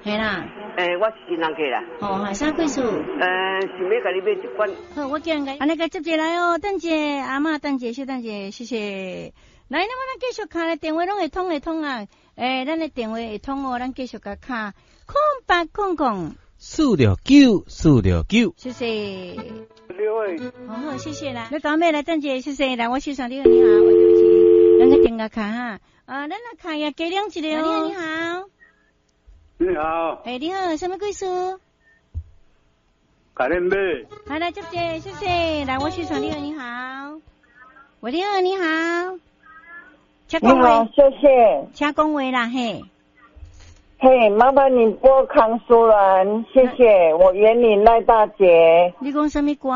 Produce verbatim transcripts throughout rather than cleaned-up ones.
嘿啦。欸，我是新人客啦。哦，哈，啥貴事？呃，想欲共你買一罐。好，我叫人共，按呢共接一來哦，等者阿嬤，等者，小等者，謝謝。來，那麼咱繼續敲咧，電話攏會通會通啊。欸，咱的電話會通哦，咱繼續共敲空八空空四六九四六九，謝謝。好好，謝謝啦。你講咩來？等者，謝謝。來，我手上你好，你好，我對不起，咱個電話卡哈。啊，咱來卡呀，加兩一個哦。你好，你好。欸，你好，啥物貴事？共恁買。好，來接者，謝謝。來，我手上你好，你好。喂，你好，你好。請講話，謝謝。請講話啦，嘿。嘿，麻煩你播康淑蘭，謝謝。我員林賴大姐。你講啥物歌？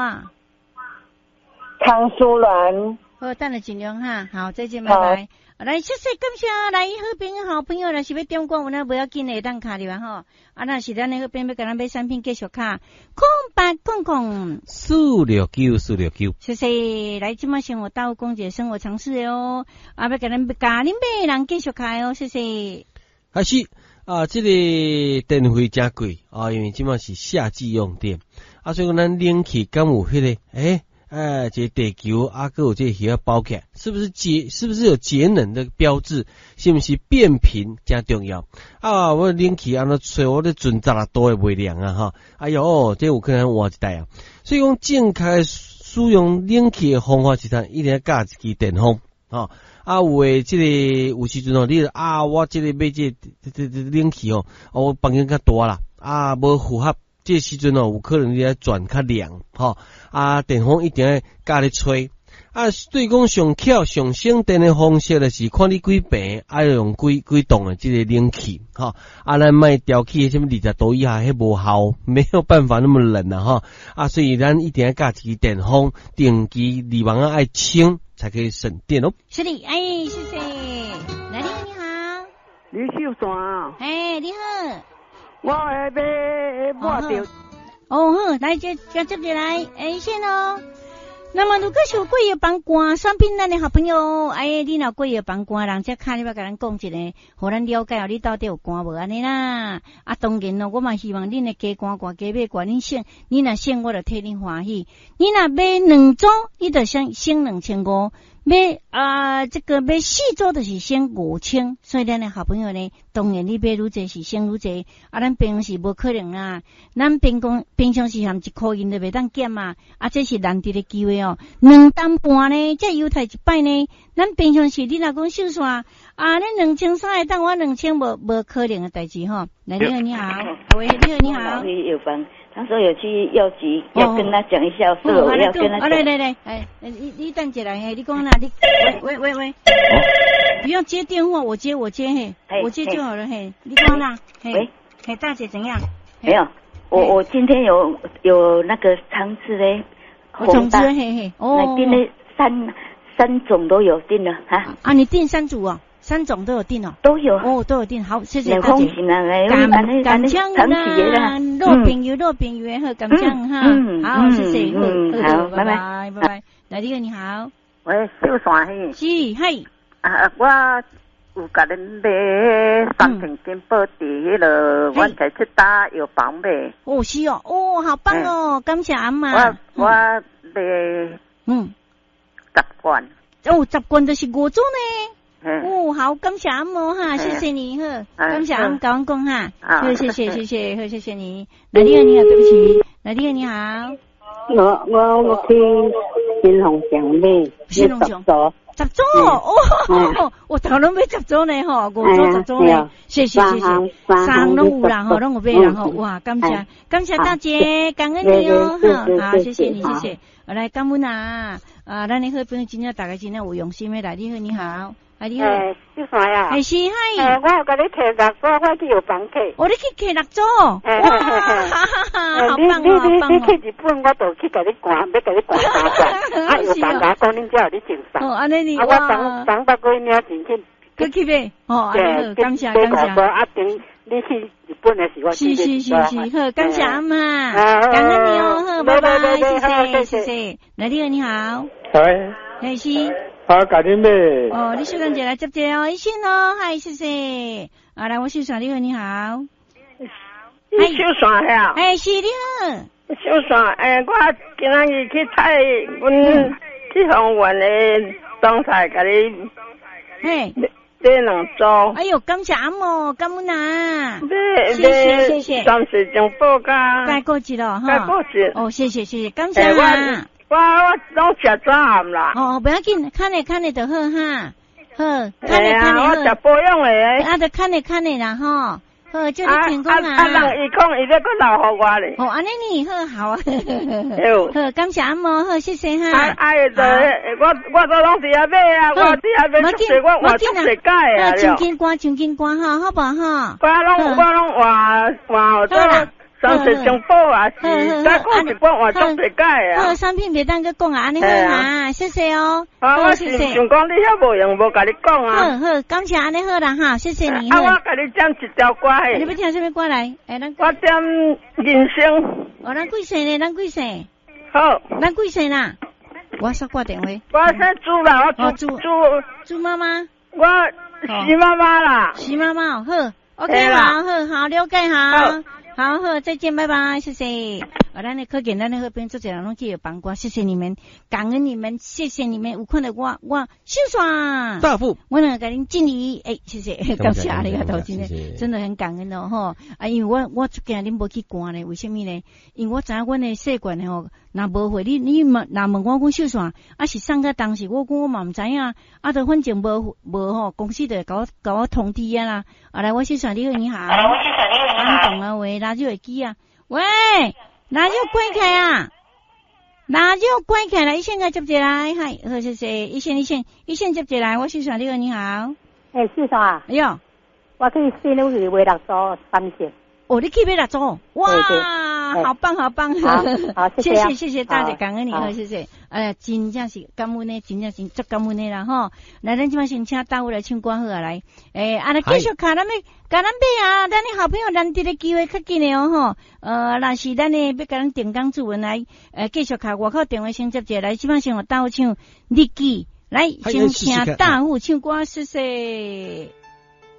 康淑蘭。好，等下盡量哈。好，再見，拜拜。來，謝謝，感謝，來，好朋友，好朋友，若是欲點歌，有咱無要緊的，會當敲入來吼。啊，若是咱的好朋友欲共咱買產品，繼續敲空八空空四六九四六九。謝謝，來，這馬生活大講一個生活常識的哦。啊，欲共咱共恁買的人繼續敲哦，謝謝。還是啊，這個電費誠貴啊，因為這馬是夏季用電啊，所以講咱冷氣敢有彼個欸？哎，這個地球啊，閣有這個魚仔包起來，是不是節？是不是有節能的標誌？是毋是變頻誠重要？啊，我冷氣按呢吹，我咧存十六度會袂涼啊！哈，哎喲，這有可能換一台啊。所以講，正確使用冷氣的方法是啥？一定愛佮一支電風，吼。啊，有的這個有時陣哦，你啊，我這個買這個這這冷氣哦，我房間較大啦，啊，無符合。這時陣哦，有可能你愛轉較涼，吼啊，電風一定愛佮咧吹。啊，對講上巧上省電的方式，就是看你幾坪，愛用幾幾棟的這個冷氣，吼啊，咱莫調起啥物二十度以下，彼無效，沒有辦法那麼冷啊，吼啊，所以咱一定愛佮一支電風，定期濾網仔愛清，才可以省電哦。是的，哎，謝謝。來，你好，你好。李秀山。哎，你好。我愛買抹著。哦好，來接接接入來，欸線哦。那麼如果是有過藥房肝產品，咱的好朋友，哎，你若過藥房肝人，才敲你欲共咱講一下，予咱了解哦，你到底有肝無按呢啦？啊，當然咯，我嘛希望恁的加肝掛加買掛，恁省，你若省，我就替恁歡喜。你若買兩組，你就省省兩千五。買啊，這個買四組就是省五千，所以咱的好朋友呢，當然你買愈濟是省愈濟，啊，咱平常時無可能啦，咱平常平常時含一箍銀都袂當減嘛，啊，這是難得的機會哦。兩擔半呢，這優待一擺呢，咱平常時你若講秀線啊，咱兩千三會當，我兩千無無可能的代誌吼。來，你好，你好，喂，你好，你好。他說有去藥局，要跟他講一下，是我要跟他講。來來來，哎，你你等一下，嘿，你講啦，你喂喂喂，不用接電話，我接我接嘿，我接就好了嘿，你講啦，喂，嘿，大姐怎樣？沒有，我我今天有有那個腸子嘞，種子嘿嘿，哦，訂了三三種都有訂了哈。啊，你訂三組哦。三種都有訂哦，都有哦，都有訂。好，謝謝大姐。感感謝啦，老朋友，老朋友好，感謝哈。好，謝謝，好，拜拜，拜拜。來，你好，你好。喂，小山嘿。是，嘿。啊，我有共恁買三瓶金寶佇彼个，阮在七大藥房買。哦，是哦，哦，好棒哦，感謝阿嬤。我我買嗯十罐。哦，十罐就是五組呢。哦，好，感謝阿嬤哈，謝謝你呵，感謝阿嬤共阮講哈，好，謝謝謝謝，好，謝謝你。來，你好，你好，對不起，來，你好，你好。我我我去新鴻祥買，新鴻祥十組哦，我頭攏買十組呢吼，五組十組呢，謝謝謝謝，三攏有啦吼，攏有買啦吼，哇，感謝感謝大姐，感恩你哦，好，謝謝你，謝謝，來感恩啊，啊，咱的好朋友真正大家真正有用心的來，你好，你好。啊，你好，小山啊，欸是嗨，欸，我有共你提六組，我去藥房提。哦，你去提六組，哇，好棒哦，你你你去日本，我就去共你寒，欲共你寒三罐。啊，藥房共我講，恁遮有咧贈送。哦，按呢你，啊，我昨昨捌過領錢去。閣去買，哦，按呢好，感謝感謝。啊，等你去日本的時，我是是是是，好，感謝阿嬤，感恩你哦，好，拜拜，謝謝謝謝。來，你好，你好。喂。嘿是。啊，共恁買。哦，你小等一下來接一下哦，醫生哦，嗨，謝謝。啊，來，我先生，你好，你好。你手线遐？哎，是你好。秀线，哎，我今仔日去采阮去丰原的冬菜，共你嘿买两组。哎哟，感谢阿姆，感恩啊！买谢谢谢谢。三色珍宝佮钙骨质咯，哈。钙骨质。哦，谢谢谢谢，感谢啊。我我拢食早暗啦。哦，不要紧，看咧看咧就好哈。好，看咧看咧我食保养的。啊，就看咧看咧啦吼。好，祝你成功啊！啊，人伊講伊欲閣留予我咧。哦，按呢呢，好好啊。好，感謝阿姆，好，謝謝哈。啊啊，我我都攏佇遐買啊，我佇遐買足濟，我換足濟改啊。真緊歌，真緊歌哈，好無哈？我攏我攏換換做三色珍寶啊，是再講一罐換足濟改啊。好，產品袂當閣講啊，按呢好哈，謝謝哦。啊，我是想講你遐無閒，無共你講啊。好好，感謝按呢好啦哈，謝謝你。啊，我共你點一條歌嘿。你欲聽啥物歌來？欸，咱我點人生。哦，咱貴姓呢？咱貴姓？好。咱貴姓啦？我煞掛電話。我姓朱啦，我朱朱朱媽媽。我徐媽媽啦。徐媽媽，好，OK，好好好，了解好。好好，再見，拜拜，謝謝。啊，咱的可見，咱的好朋友足濟人攏去幫歌，謝謝你們，感恩你們，謝謝你們。有看著我，我秀線大富，我兩個共恁敬禮，欸，謝謝，感謝阿里嘎多，真的真的很感恩哦，吼。啊，因為我我足驚恁無去看咧，為啥物呢？因為我知影阮的細罐吼，若無貨，你你問若問我講秀線，啊是送到當時，我講我嘛毋知影，啊，就反正無無吼，公司就會共我共我通知啊啦。啊來，我秀線，你好，你好。來，我秀線，你好，你好。懂啊喂，拉就會記啊，喂，拉就關起啊，拉就關起來，一線共接一來，嗨，好謝謝，一線一線一線接一來，我秀線，你好，你好。欸，秀線啊。哎喲，我去新女去買六組三色。哦，你去買六組，哇，好棒好棒，好，好，謝謝謝謝大姐，感恩你，好，謝謝。哎呀，真正是感恩的，真正是足感恩的啦吼。來，咱這擺先請大富來唱歌好啊，來，欸，啊，來繼續共咱欲，共咱買啊，咱的好朋友難得的機會較緊的哦吼。呃，若是咱的欲共咱定崗主文來，呃，繼續敲外口電話先接一下來，這擺先予大富唱日記，來，先請大富唱歌，謝謝。